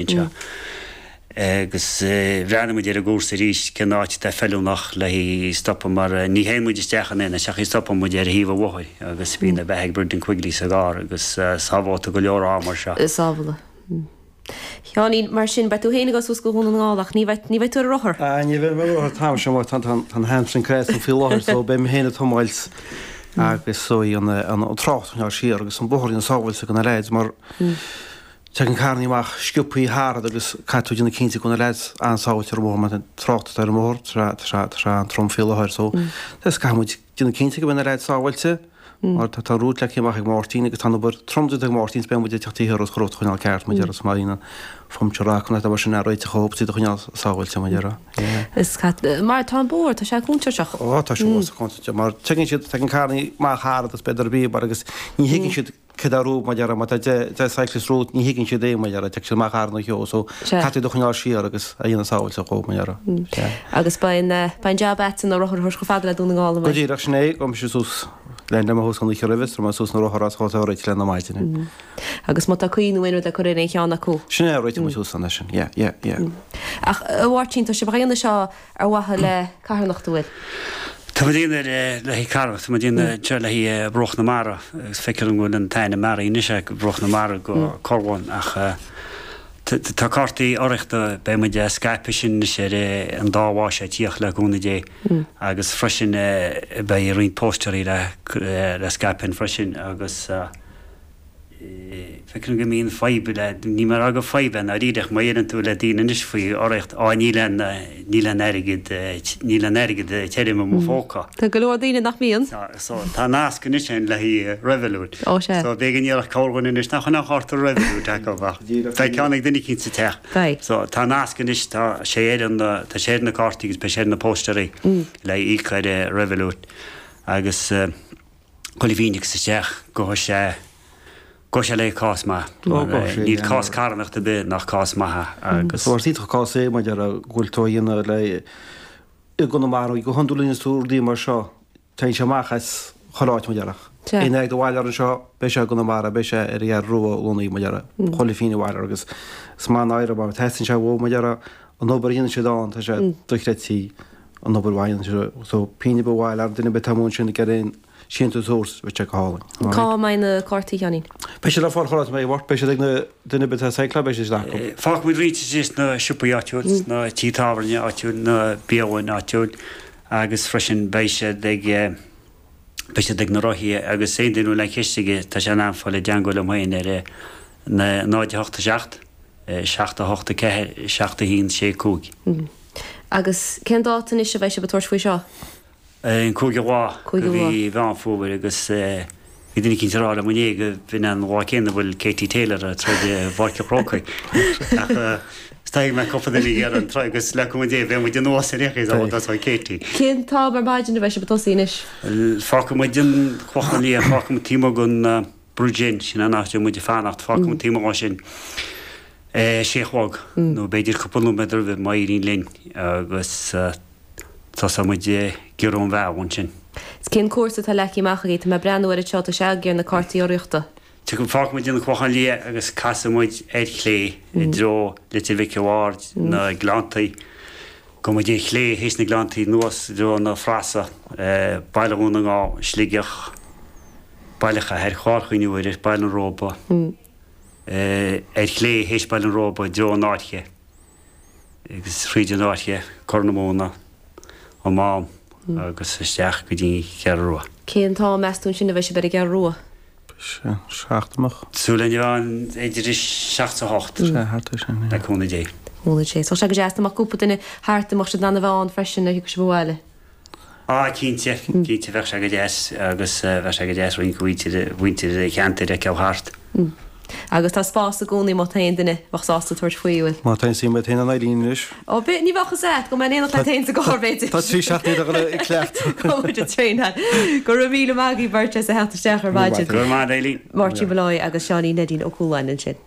Anseo. Agus bhreathnaigh muid ar an gcúrsa arís, cén áit atá feiliúnach le haghaidh stopadh mar ní théann muid isteach in aon áit ach stopann muid ar thaobh an bhóthair agus bíonn an bheatha ag Brendan Quigley sa gcarr agus sábhálta go leor am mar seo. Sábhála. Sheáinín, Mar sin, beidh tú féin ag dul suas go Dhún na nGall ach ní bheidh, ní bheidh tú ar an rothar. Ah, ní bheidh mé ar an rothar an t-am seo mar tá an hamstring cráite faoi láthair so beidh mé féin ag tiomáilt agus so an trácht a choinneáil siar agus an bóthar a dhéanamh sábháilte do na leaids mar Tagann carrannaí amach sciobthaí thart agus caithfidh tú déanamh cinnte go bhfuil na leaids an-sábháilte ar an bhóthar mar an trácht atá ar an mbóthar tá sé an-trom faoi láthair so just caithfidh muid déanamh cinnte go mbeidh na leaids sábháilte mar tá an route leagtha amach ag Máirtín agus tá an obair trom déanta ag Máirtín is beidh muid ag teacht thiar agus an route a choinneáil ceart mar a déarfá má bhíonn an phuncture acu nó mar sin a réiteach dhóibh iad a choinneáil sábháilte mar a déarfá. Yeah. Is cat mar tá an bóthar tá sé contúirteach. Ó tá sé contúirteach mar tagann siad tagann carrannaí amach thart agus b'fhéidir bíobhair agus ní thuigeann siad Cad é rompu, mar a déarfá, má tá 10 cyclist romhat, ní thuigeann siad é, mar a déarfá, tiocfaidh siad amach thar na cheo, so caithfidh tú iad a choinneáil siar agus a dhéanamh sábháilte dhóibh, mar a déarfá. Sea. Agus beidh an, beidh an jab a'dsa na rothair a thabhairt chomh fada le Dún na nGall, an Go mbeidh? díreach, sin é, gabhfaidh mise suas le le mo thuas an oíche roimhe, is tabharfaidh mé suas na rothair as chomh réitithe le na maidine. Agus má tá caoi nó aon rud le cur ar aon cheann acu. Sin é, réiteoidh muid suas an é sin, yeah, yeah, yeah. Ach a Mháirtín, tá sibh á dhéanamh seo Ar mhaithe le carthanacht an bhfuil? Tá muid ag déanamh le haghaidh carthanacht, tá muid ag déanamh seo le haghaidh Bruach na Mara agus feictear dom go bhfuil an t-ainm athraithe anois ag Bruach na Mara go Corrlann ach tá cártaí urraíochta, beidh muid á scaipeadh sin anois ar an dá bhá seo ag tíocht le cúnamh Dé agus freisin beidh roinnt pósteraí le scaipeadh freisin agus. Feicim go mbíonn fadhb le, níl mé ag rá gur fadhb é ndáiríre ach má dheireann tú le daoine anois faoi urraíocht, á níl aon, níl aon airgead, níl aon airgead tirim i mo phóca. Tá go leor daoine nach mbíonn. So tá nasc anois ann le haghaidh Revolut. Ó sea. So b'éigean iarracht cabhair dhuine anois nach bhfuil aon chárta Revolut acu ach beidh ceann ag duine eicínt sa teach. Beidh. So tá nasc anois, tá sé ar an, tá sé ar na cártaí agus beidh sé ar na pósteraí le íoc ar Revolut agus. Chuile phingin a thiocfas isteach, gabhfaidh sé, gabhfaidh sé le cás maith. Ó, gabhfaidh sé, Níl cás carthanachta ar bith nach cás maith é agus. Is iontach cás é mar a déarfá go bhfuil tú á dhéanamh le i gConamara, go hiondúil nuair a dhéananns tú rudaí mar seo, téann sé amach as chuile áit mar a déarfá. Sea. Aon airgead a bhaileofar anseo, beidh sé i gConamara, beidh sé ar an gCeathrú Rua i Lonnaí mar a déarfá, chuile phingin a bhaileofar agus is maith an oidhre mar teastaíonn sé uathu mar a déarfá, an obair a dhéanann siad ann, tá sé dochreidte. an obair mhaith a dhéanann siad so pingin ar bith a bhaileofar, duine ar bith atá amuigh ansin ag iarraidh aon síntiús a thabhairt, bheadh sé go hálainn. Cá mbeidh na cártaí, a Sheáinín? Beidh siad le fáil chuile áit a mbeidh work, beidh siad ag na duine ar bith atá ag cycláil, beidh siad acu. Fágfaidh muid roinnt istigh sna siopaí áitiúil, sna tithe tábhairne áitiúil, na bialanna áitiúil agus freisin beidh siad ag beidh siad ag na rothaithe agus aon duine a bhfuil aon cheist aige tá sé in ann fáil i dteangmháil liom féin ar 0 8 7 7 8 4 7 1 6 5. Agus cén dáta anois a bheidh sibh ag tabhairt faoi seo? An cúigiú lá de mhí Mheán Fómhair agus bhí duine eicínt ag rá liom inné go b'in an lá céanna a bhfuil Katie Taylor ag troid i bPáirc an Chrócaigh. Ach is dóigh go mbeidh cúpla duine ag iarraidh an troid agus le cúnamh Dé beidh muid anuas ar aon chaoi dá dtosóidh Katie. Cén t-am ar maidin a bheidh sibh ag tosaí anois? Fágfaidh muid an Clochán Liath, fágfaidh muid taobh amuigh den Bridge Inn, sin an áit a bhfuil muid ag fanacht, fágfaidh muid taobh amuigh de sin a sé a chlog nó b'fhéidir cúpla nóiméad roimhe má éiríonn linn agus tosóidh muid ag giorrú an bhealaigh ansin. Is cén cúrsa atá leagtha amach agaibh? Tá mé ag breathnú air anseo, tá sé agaibh ar na cártaí urraíochta. Tiocfaidh, fágfaidh muid an Clochán Liath agus casfaidh muid ar chlé i dtreo Leitir Mhic an Bhaird, na Gleanntaí. Gabhfaidh muid ar chlé théis na Gleanntaí anuas i dtreo na Frasa, Baile Dhún na nGall, Sligeach, Baile Chathair, Clár Chuinn Mhuirir, Baile an Róba, ar chlé théis Baile an Róba i dtreo an Fháirche agus thríd an Fháirche, Corr na Móna, an Mám agus isteach go dtí an Cheathrú Rua. Cén t-am meas tú ansin a bheidh sibh ar an gCeathrú Rua? Seacht amach. Súil linn a bheith ann idir a seacht is a hocht. Sea, thart ar sin, yeah. Le cúnamh Dé. Cúnamh Dé. So sé go deas dá mbeadh cúpla duine thart, dá mbeadh siad in ann a bheith ann freisin nuair a thiocfadh sibh abhaile. Á, cinnte, cinnte, bheadh sé go deas agus bheadh sé go deas roinnt de mhuintir an cheantair a fheiceáil thart. Agus tá spás i gcónaí má tá aon duine a bheadh sásta tabhairt faoi, bhfuil? Má tá aon suim agat féin in Eileen anois. Ó, b'fhéidir, ní bheadh fhios a't, go mbeinn in éineacht leat féin sa gcarr, b'fhéidir. Tá trí seachtainí le dhul ag cleachtadh. Go bhfuil muid ag traenáil. Go raibh míle maith agaibh beirt as a theacht isteach ar maidin. Go raibh maith a't, Eileen. Máirtín Molloy agus Seáinín Neidín Ó Cualáin ansin.